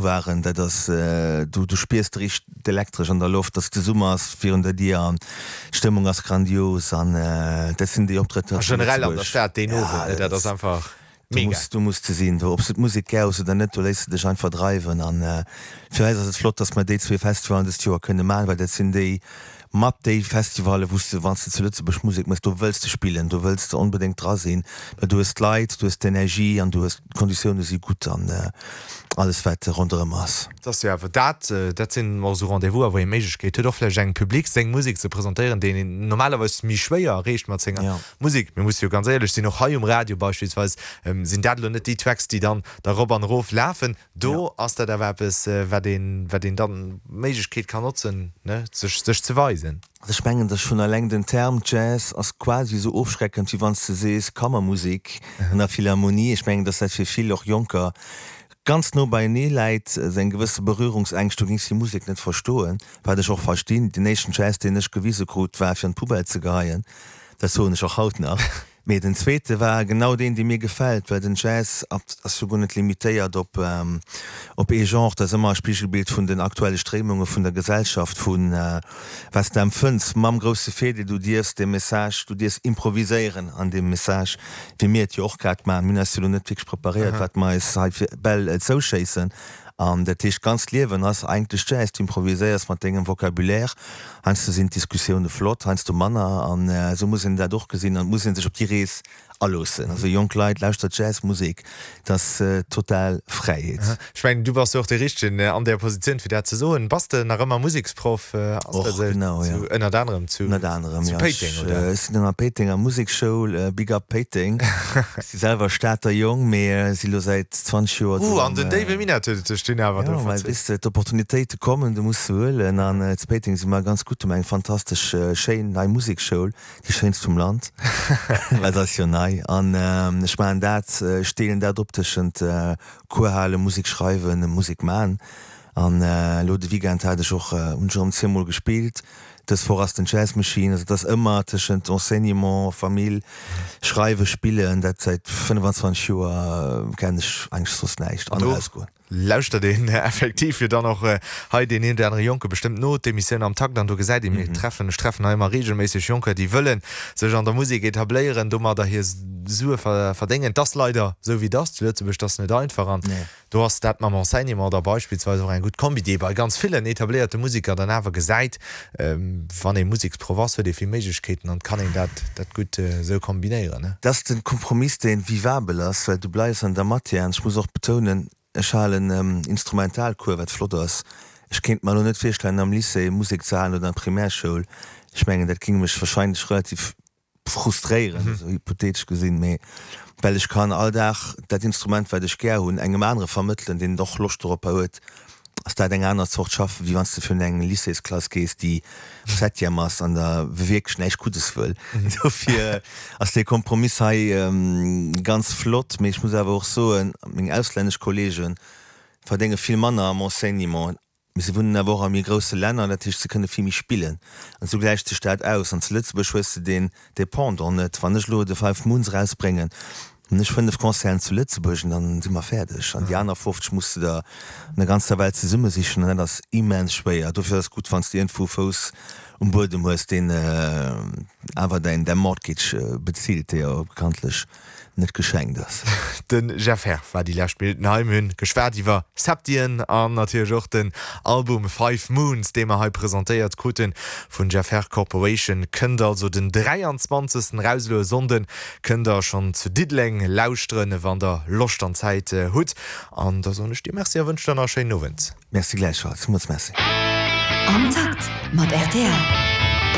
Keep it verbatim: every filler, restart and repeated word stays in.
waren, dat ass, du du spiers richteg d'Elektresch an der Loft, dass de Summer ass virun der Dier an d'Stëmmung ass grandios an dat sinn déi Optrëtter zu Generell an der Stad deen Owend, dat ass einfach mega. Du muss, du muss se sinn, do, ob s du d'Musek gär hues oder net, do léiss de dech einfach dreiwen an fir eis ass et flott, dass mer déi zwee Festivallen dëst Joer kënne maachen, well dat sinn déi mat déi Festivalle wou s de, wann s de zu Lëtzebuerg Musek méchs, do wëlls de spillen, do wëlls de onbedéngt dra sinn, well du hues d'Leit, du hues d'Energie an du hues, d'Konditioune si gutt an alles wat ronderëm ass. Et ass jo awer dat, dat sinn och esou Rendez-vous'er, wou ee Méiglechkeet huet och vläicht engem Public seng Musek ze presentéieren, deen een normalerweis méi schwéier erreecht mat senger Musek. Mir musse jo ganz éierlech sinn, och hei um Radio beispillsweis sinn dat elo net déi Tracks, déi dann da rop an erof lafen. Do ass dat awer eppes, wat een, wat een dann d'Méiglechkeet kann notzen, ne, sech, sech ze weisen. Also ech mengen, dass schonn eleng den Term Jazz ass quasi esou ofschreckend, wéi wann s de sees Kammermusek an der Philharmonie. Ech mengen, dass dat fir vill, och Jonker, ganz no beienee läit, esou eng gewësse Berührungsängscht, du géings déi Musek net verstoen, wat ech och verstinn. Den éischten Jazz, deen ech gewise krut, war fir an d'Poubelle ze geheien, dat soen ech och haut nach. Mee den zweete war genau deen, dee mir gefält, well den Jazz ass jo guer net limitéiert op op ee Genre, dat ass ëmmer e Spigelbild vun den aktuelle Stréimunge vun der Gesellschaft, vu wat s de empfënns, mam grousse Virdeel, du dierfs de Message, du dierfs improviséieren an deem Message, wéi mir et jo och grad maachen. Mir hunn eis jo elo net wierklech preparéiert, wat mer eis hei fir Bäll zouschéissen. An dat heescht, d'ganzt Liewen ass eigentlech Jazz. Du improviséiers mat dengem Vocabulaire. Heiansdo sinn d'Diskussioune flott, heiansdo manner. An esou muss een dat och gesinn an et muss ee sech op déi Rees aloossen. Also jonk Leit, lauschtert Jazzmusek, dat ass total Fräiheet. Ech mengen, du bass jo och dee Richtegen an där Positioun, fir dat ze soen. Bass de nach ëmmer Museksproff? Ass Och, dat esou? genau, jo. Zu, ënnert anerem zu, Ënnert anerem, zu jo. Péiteng, Ech, oder? ech sinn an der Péitenger Musekschoul, Big up Péiteng. Ech si selwer Stater Jong, mee si lo säit zwanzeg Joer do Uh, an am. den déiwe Minett huet et sech dunn awer do Jo, well verzéckt. weess de, d'Opportunitéite kommen, du muss se huelen. An zu Péiteng si mer ganz gutt, hu mer eng fantastesch schéin nei Musekschoul, déi schéinst vum Land, well se ass jo nei. An ech maachen dat, ech deelen dat op tëschent Cours halen, Musek schreiwen, Musek man. An elo de Weekend hat ech och, hunn ech erëm zweemol gespillt. Dës Woch ass den Jazz Machine. Also et ass ëmmer tëschent Enseignement, Famill, Schreiwen, Spillen. Dat säit fënnefenzwanzeg Joer kennen ech eigentlech soss näischt. An Do erausgoen. lauschtert een effektiv jo dann och hei deen een oder anere Jonke bestëmmt no d'Emissioun Am Takt an do gesäit een, mir treffen, ech treffen hei ëmmer reegelméisseg Jonker, déi wëlle sech an der Musek etabléieren, domadder hir Sue verdéngen. Et ass leider esou wéi et ass zu Lëtzebuerg, et ass net einfach an do ass dat mam Enseignement da beispillsweis och eng gutt Kombi, déi ee bei ganz villen etabléierte Museker dann awer gesäit. Wann ee Museksproff ass, huet ee vill Méiglechkeeten an et kann een dat dat gutt esou kombinéieren. Dat ass de Kompromiss, dee vivabel ass, well du bleifs an der Matière. An ech muss och betounen, ech halen Instrumentalcours, wat flott ass. Ech kéint mer elo net virstellen, am Lycée Musek ze halen oder an der Primärschoul. Ech mengen, dat géing mech wahrscheinlech relativ frustréieren, esou hypothetesch gesinn, mee well ech kann all Dag dat Instrument, wat ech gär hunn, engem anere vermëttelen, deen och Loscht doropper huet, ass dat eng aner Zort Schaffen, wéi wann s de virun eng Lycéesklass gees, déi Septième ass an der wierklech näischt Guddes wëll. Dofir ass dee Kompromiss hei ganz flott, mee ech muss awer och soen, meng auslännesch Kollege verdénge vill manner am Enseignement. Mee se wunnen awer och a méi grousse Länner, dat heescht, se kënne vill méi spillen. An esou gläicht sech dat aus. An zu Lëtzebuerg hues de deen Dépendant net. Wann ech elo de Five Moons erausbréngen, hunn ech fënnef Concerten zu Lëtzebuerg an dann si mer fäerdeg. An déi aner fofzeg muss de der an der ganzer Welt zesummesichen an dat ass immens schwéier. Dofir ass et gutt, wann s de iergendwou e Fouss um Buedem hues, deen awer däin Mortgage bezilt, dee jo bekanntlech net geschenkt ass. De Jeff Herr war déi lescht Minutten hei. Mir hunn geschwat iwwer Septien an natierlech och den Album Five Moons, dee mer hei presentéiert kruten vun Jeff Herr Corporation. Kënnt also den dräianzwanzegsten eraus, elo e Sonnden. Kënnt der schonn zu Diddeleng lauschteren, wann der Loscht an Zäit hutt. An da soen ech dir Merci a wënschen der nach e schéinen Owend. Merci gläichfalls. Villmools Merci. Am Takt mat rtl.